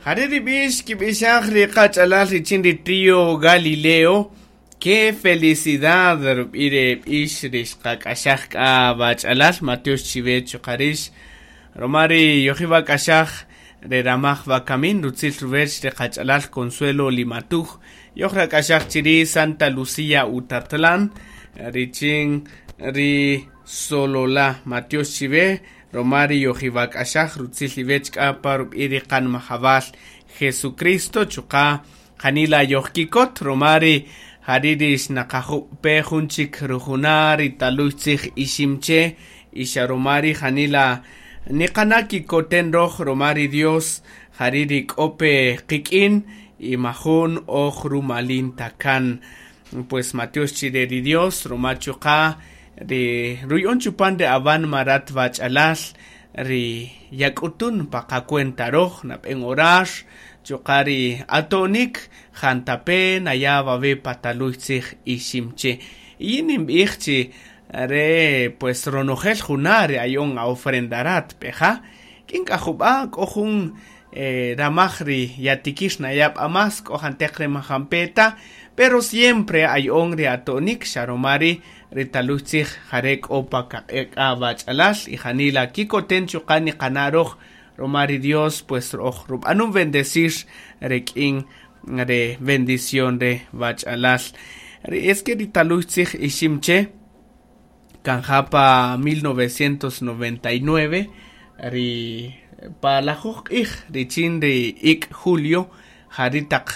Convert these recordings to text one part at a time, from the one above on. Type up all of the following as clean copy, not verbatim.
Jare' ri b'ix kib'ixaj ri qach'alal richin ri trío Galileo. Qué felicidad rub'i' re b'ix ri xqak'axaj k'a wach'alal matyox chiwe chuqa' rix ruma ri yojib'ak'axaj re ramaj wakamin rutzil ruwech ri qach'alal Consuelo Limatuj yojrak'axaj chiri' Santa Lucía Utatlán richin ri Sololá matyox chiwe ruma ri yojib'ak'axaj rutzil iwech k'a pa rub'i' ri qanmajawal Jesucristo chuqa' janila yojkikot ruma ri jari' ri xnaqajub' pe jun chik rujuna' ri taluy tzij Iximche y xa ruma ri janila niqana' kikoten roj ruma ri Dios jari' ri k'o pe qik'in y majun oj rumalin ta kan pues matyox chire ri Dios ruma chuqa' ri ruya'on chupan ri awanma rat wach'alal ri yak'utun pa qacuenta roj nab'en orar chuqa' ri ato'nik jantape naya' wawe' pa taluy tzij Iximche y yin ninb'ij chi re pues ronojel juna' ri aya'on a-ofrenda rat peja k'in k'a jub'a' k'o jun ramaj ri yatikir naya' b'a más k'o janteq re man jampe' ta pero siempre aya'on ri ato'nik xa ruma ri' ri taluy tzij jare' k'o pa kaq'iq' k'a wach'alal y janila kikoten chuqa' niqana' roj ruma ri Dios pues roj rub'anun bendecir rik'in re bendición re wach'alal ri es que ri taluy tzij Iximche kanja pa 1999 ri pa lajuj q'ij richin ri ik' julio jari' taq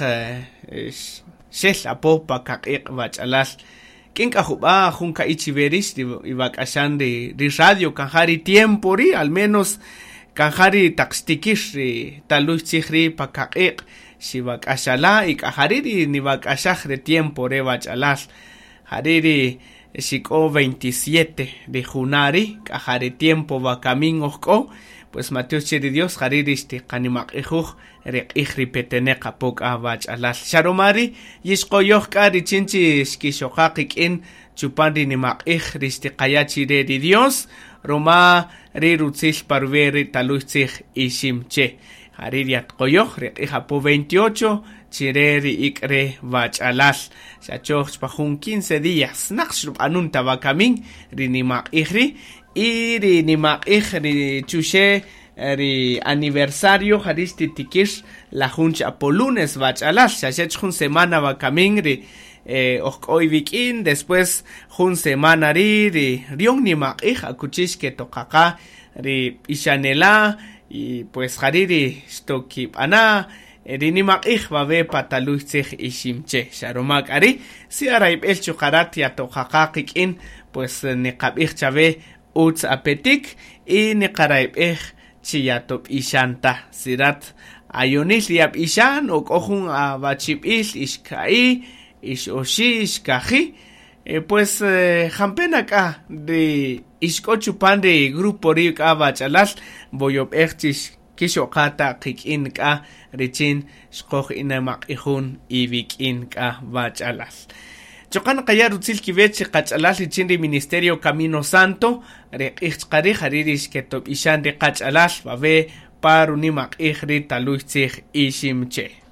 xel apo pa kaq'iq' wach'alal k'in k'a jub'a' jun ka'i' chiwe rix ri iwak'axan ri radio kanja ri tiempo ri' al menos kanja ri taq xtikir ri taluy tzij ri' pa kaq'iq' xiwak'axala' y k'a jari' ri niwak'axaj re tiempo re wach'alal jari' ri xik'o 27 ri juna' ri' k'a ja ri tiempo wakamin oj k'o pues matyox che ri Dios jari' ri xtiqanimaq'ijuj ri q'ij ri peteneq apo k'a wach'alal xa ruma ri' yixqoyoj k'a richin chi xkixoqa qik'in chupan ri nimaq'ij ri xtiqaya' chire ri Dios ruma ri rutzil pa ruwi' ri taluy tzij Iximche jari' ri yatqoyoj ri q'ij apo 28 chire ri ik' re wach'alal xa choj pa jun 15 días naq xrub'anun ta wakamin ri nimaq'ij ri' y ri nimaq'ij ri chuxe' ri aniversario jari' xtitikir la jun chi apo lunes wach'alal xa xech jun semana wakamin ri oj k'o iwik'in después jun semana ri' ri rion nimaq'ij akuchi xketoqaqa ri b'ixanela' y pues jari' ri xtokib'ana' ri nimaq'ij wawe' pa taluy tzij Iximche xa ruma k'a ri' si arayb'el chuqa' rat yatoqaqa qik'in pues niqab'ij chawe utz apetik y niqarayb'ej chi yatob'ixan ta si rat ayonil yab'ixan o k'o jun awachib'il ixka'i' ixoxi' ixkaji' pues jampe' na k'a ri ixk'o chupan ri grupo ri' k'a wach'alal woyob'ej chi kixoqa ta qik'in k'a richin xqoj inamaq'ijun iwik'in k'a wach'alal chuqa' naqaya' rutzil kiwech ri qach'alal richin ri Ministerio Camino Santo ri q'ij chaqa ri' jari' ri xketob'ixan ri qach'alal wawe' pa runimaq'ij ri taluy tzij Iximche.